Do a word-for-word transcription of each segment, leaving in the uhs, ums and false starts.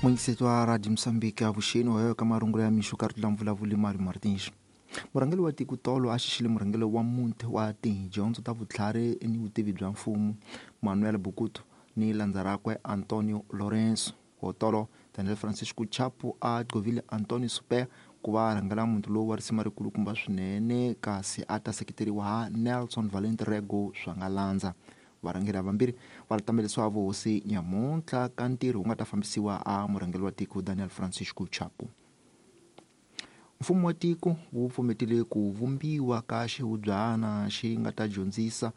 Muyingiseti wa Radio Mozambique avuxeni wa ka marungulo ya mixo ka ri vulavuli Mario Martins. Murhangeri wa tiko tolo a xixile murhangeri wa muti wa tidyondzo ta vutlhari ni vutivi bya mfumo Manuel Bukutu ni landza rakwe Antonio Lorenzo. Hotolo Daniel Francisco Chapo a gqovile Antonio Super ku va rhangela muti lowu wa risima rikulukumba swinene kasi a ta seketeriwa ha Nelson Valente Rego swa nga landza. Varhangeri havambirhi va tamelisiwa vuhosi nyamuntlha ka ntirho wu nga ta fambisiwa a murhangeri wa tiko Daniel Francisco Chapo. Mfumo wa tiko wu pfumetile ku vumbiwa ka xihubyana xi nga ta dyondzisa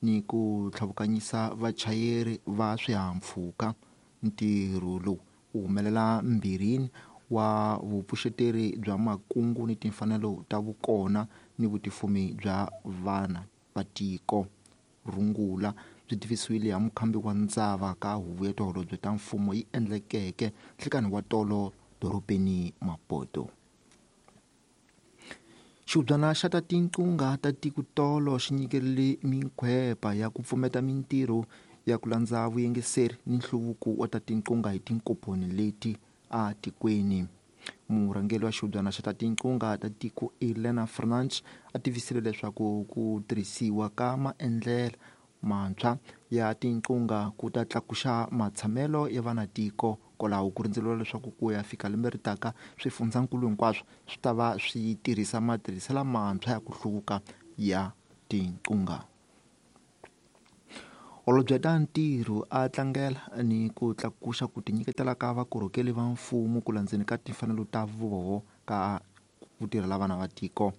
ni ku tlhavukanyisa vachayeri va swihahampfhuka. Ntirho lowu wu humelela mbirhini wa vupfuxeteri bya makungu ni timfanelo ta vukona ni vutifumi bya vana va tiko. Rungula byi tivisiwile ha mukhambi wa ndzava ka huvo ya tiholobye ta mfumo yi endlekeke nhlikani wa tolo dorobeni Maputo. Xihubyana xa ta tinqungha ta tiko tolo xi nyikerile minkhwepa ya ku pfumeta mintirho ya ku landza vuyingiseri ni nhluvuko wa ta tinqungha hi tinkomponi leti a tikweni. Murhangeri wa xihubyana xa ta tinqungha ta tiko Elena Fernandes a tivisile leswaku ku tirhisiwa ka maendlelo mantshwa ya tinqungha ku ta tlakuxa matshamelo ya vanatiko kwalaho ku rindzeriwa leswaku ku ya fika lembe ri taka swifundzankulu hinkwaswo swi ta va swi tirhisa matirhiselo mantshwa ya ku hluvuka ya tinqungha. Holobye ta ntirho a tlangela ni ku tlakuxa ku tinyiketela ka vakorhokeli va mfumo ku landzeni ka timfanelo ta voho ka ku tirhela vana va tiko.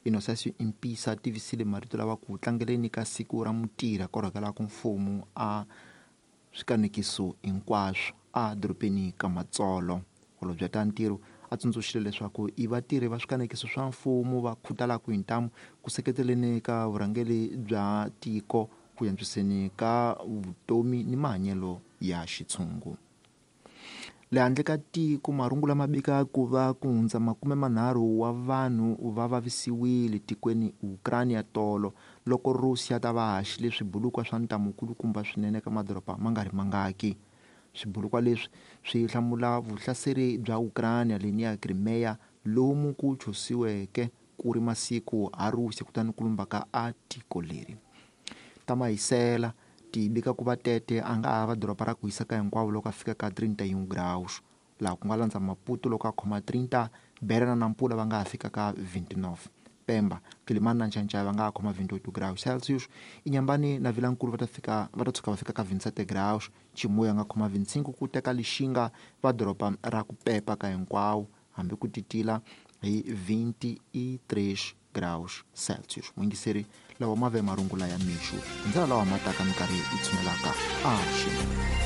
Innocent Impisa tivisile marito lawa ku tlangeleni ka siku ra mutirhi a korhokelaka mfumo a swikanekiso hinkwaswo a dorobeni ka Matsolo. Holobye ta ntirho a tsundzuxile leswaku i vatirhi va swikanekiso swa mfumo va khutalaka hi ntamu ku seketeleni ka vurhangeri bya tiko ku antswiseni ka vutomi ni mahanyelo ya xitshungu. Le handle ka tiko marungulo ma bika ku va ku hundza makume manharhu wa vanhu va vavisiwile tikweni Ukraine ya tolo loko Russia ta va haxile swibulukwa swa ntamu kulukumba swinene ka madoroba ma nga ri mangaki. Swibulukwa leswi swi hlamula vuhlaseri bya Ukraine leni ya Crimea lomu ku chusiweke ku ri masiku ha Russia kutani ku lumbaka a tiko leri. Ta mahisela ti bika ku va Tete a nga hava doroba ra ku hisa ka hinkwavo loko a fika ka trinta e um graus laha ku nga landza Maputo loko a khoma trinta, Beira na Nampula va nga ha fika ka vinte e nove, Pemba, Quelimane na Nchanchay va nga ha khoma vinte e oito graus Celsius, Inhambane na Vilankulu va ta fika va ta tshuka va fika ka vinte e sete graus, Chimoio a nga khoma vinte e cinco ku teka Lixinga va doroba ra ku pepa ka hinkwawo hambi ku titila hi vinte e três graus Celsius. Muyingiseri lawa ma ve marungula ya mixo hi ndlela lawa ma taka minkarhi yi tshunelaka a xi.